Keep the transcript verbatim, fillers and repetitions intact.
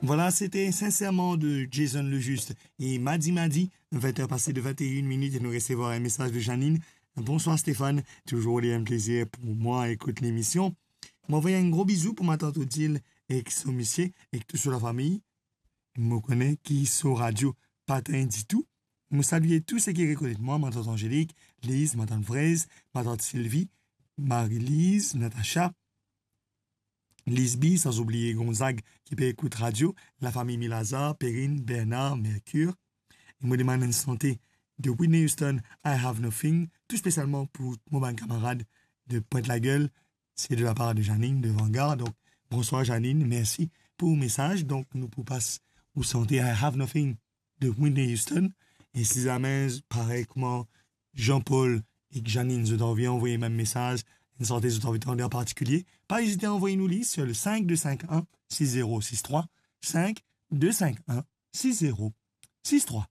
Voilà, c'était Sincèrement de Jason Lejuste. E mardi, mardi, vingt heures passées de vingt et une minutes, e nou resevwar enn mesaz de Janine. Bonsoir Stéphane, toujours enn plezir pou mwa ekout lemision. Mo anvoy enn gro bizou pou matant Odile ek so misie, ek tou so lafami. Mo kone ki so radio pa tann ditou. Mo salie tou seki rekonet mwa, matant Angélique, Lise, matant Fraise, matant Sylvie, Marie-Lise, Natacha, Lisby, san oubliye Gonzague ki pe ekout radio, lafami Milaza, Perrine, Bernard, Mercure. E mo demann enn sante de Whitney Houston, I Have Nothing, tou spesialman pou mo bann kamarad de Pointe-la-Gueule, se de lapar de Janine de Vanguard. Donk, bonswar Janine, mersi pou mesaz. Donk, nou pou pas ou sante I Have Nothing de Whitney Houston. E si zame, parey kouma Jean-Paul ek Janine, zot anvi anvoy mem mesaz, enn sante zot anvi tande an partikilie, pa ezite anvoy nou li sur le cinq deux cinq un six zéro six trois, cinq deux cinq un six zéro six trois.